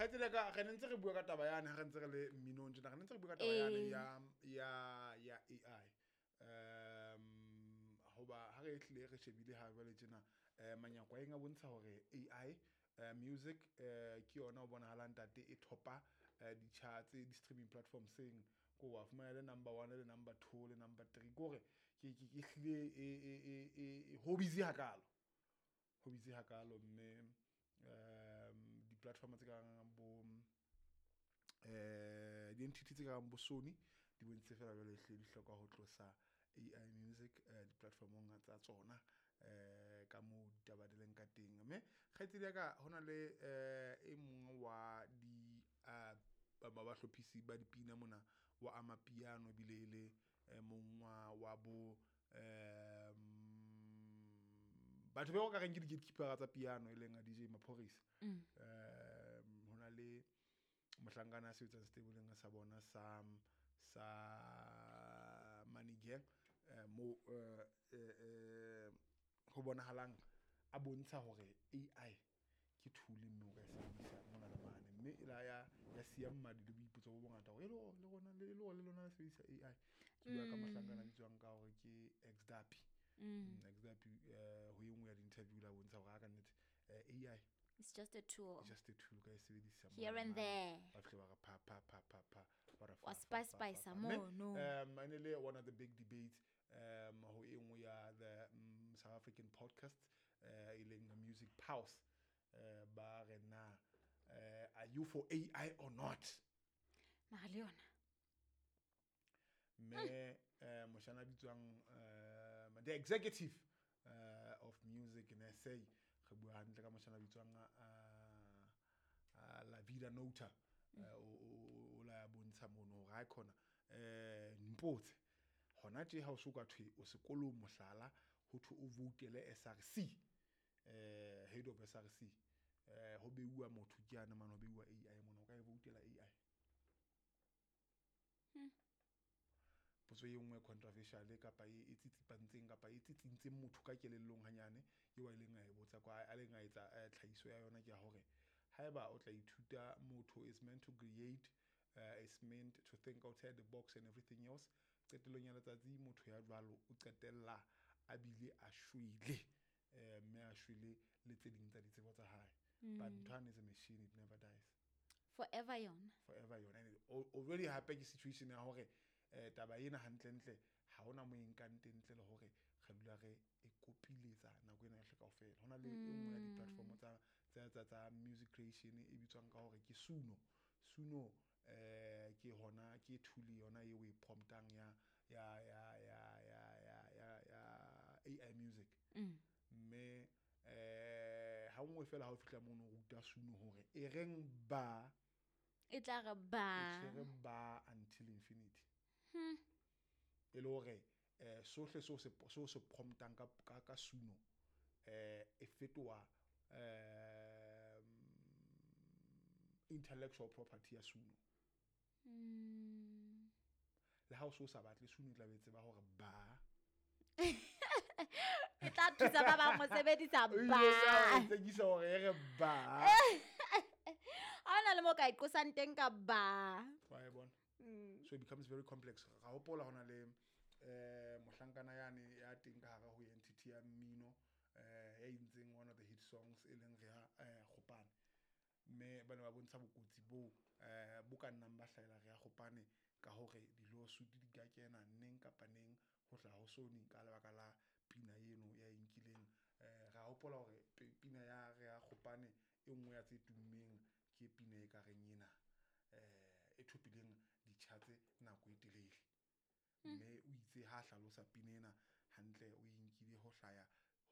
Kgaitsedi ya ka, re ne ntse re bua ka taba yane ha re ntse re le mminong tjena, re ne ntse re bua ka taba yane ya AI. Hoba ha re hlile re shebile ha jwale tjena, manyakweng a bontsha hore AI music ke yona o bonahalang ntate e thopa di-charts, di-streaming platforms-eng. Ko wa fumana le number 1 le number 2 le number 3, ke hore ke hlile e ho busy hakalo. Ho busy hakalo mme di-platform tse kang bo di-entity tse kang bo Sony di bontshitse fela jwale hlile di hloka ho tlosa AI music di-platformong tsa tsona ka moo ditaba di leng ka teng. Mme kgaitsedi ya ka, hona le e mong wa di ba bahlophisi ba dipina mona wa amapiano, ebile e le mong wa bo batho ba o ka reng ke di-gatekeeper tsa piano, e leng a DJ Maphorisa. Hona le mohlankana a sebetsang stableng sa bona sa Money Gang, mo ho bonahalang a bontsha hore AI ke tool mme o ka e sebedisa mona le mane, mme e la ya siya mmadi le boipotso bo bongata hore e le hore le rona le lona le sebedisa AI. Ke bua ka mohlankana a bitswang ka hore ke Xdapi. Xdapi ho e nngwe ya di-interview la bontsha hore ha ka nnete AI it's just a tool. It's just a tool ka e sebedisa here and there. Ba fihle ba re pa pa pa pa pa, ba re wa spice spice mo no. Ene le one of the big debates ho e nngwe ya the South African podcast e leng Music Pulse. Ba re na are you for AI or not? Mara le yona. Mme moshana bitswang the executive of music in SA, re bua hantle ka moshana bitswang La Vida Nota, o la bontsha mono hore ha khona mpotse hona tje ha o so ka thwe o sekolong mohlala ho thwe o voutele SRC, head of SRC, ho beuwa motho ke yana mane, ho beuwa AI mona, o ka e voutela AI? Potso e nngwe controversial kapa e tsitsipantseng kapa e tsitsintseng motho ka kelellong hanyane, eo a ileng a e botsa kwa a leng a etsa tlhahiso ya yona ke ya hore haeba o tla ithuta motho is meant to create, is meant to think outside the box and everything else, qetellong ya letsatsi motho ya jwalo o qetella a bile a shwele, mme a shwele le tse ding tsa ditsebo tsa hae. But ntho is a machine, it never dies. Forever yona. Forever yona. And already hape ke situation ya hore taba ena hantlentle ha hona mo e nkang teng ntle le hore re dula re e kopiletsa nako ena yohle kaofela. Hona le e nngwe ya di-platform tsa music creation e bitswang ka hore ke Suno. Suno ke hona ke tool yona eo e promptang ya AI music. Mme ha nngwe fela ha o fihla mono o ruta Suno hore e reng ba, e tla re ba, e tshwere ba until infinity. E le hore sohle seo se promptang ka Suno e fetoha intellectual property ya Suno. Le ha o so sa batle Suno e tla be tseba hore ba e tla thusa ba bang ho sebedisa ba. E tsekisa hore e re ba. Ha hona le mo ka e qosang teng ka ba. Wa e bona? So it becomes very complex. Ra hopola hona le mohlankana yane ya teng ka hara ho entity ya mmino ya entseng one of the hit songs e leng Rea Kgopane. Mme ba ne ba bontsha bokotsi bo bo ka nnang ba hlahela Rea Kgopane ka hore di-lawsuit di ka kena neng kapa neng ho hlaha ho Sony ka lebaka la pina eno ya e nkileng. Ra hopola hore pina ya Rea Kgopane e nngwe ya tse tummeng ke pina e ka reng ena e thopileng di-charts nako e telele. Mme o itse ha hlalosa pina ena hantle o e nkile ho hlaya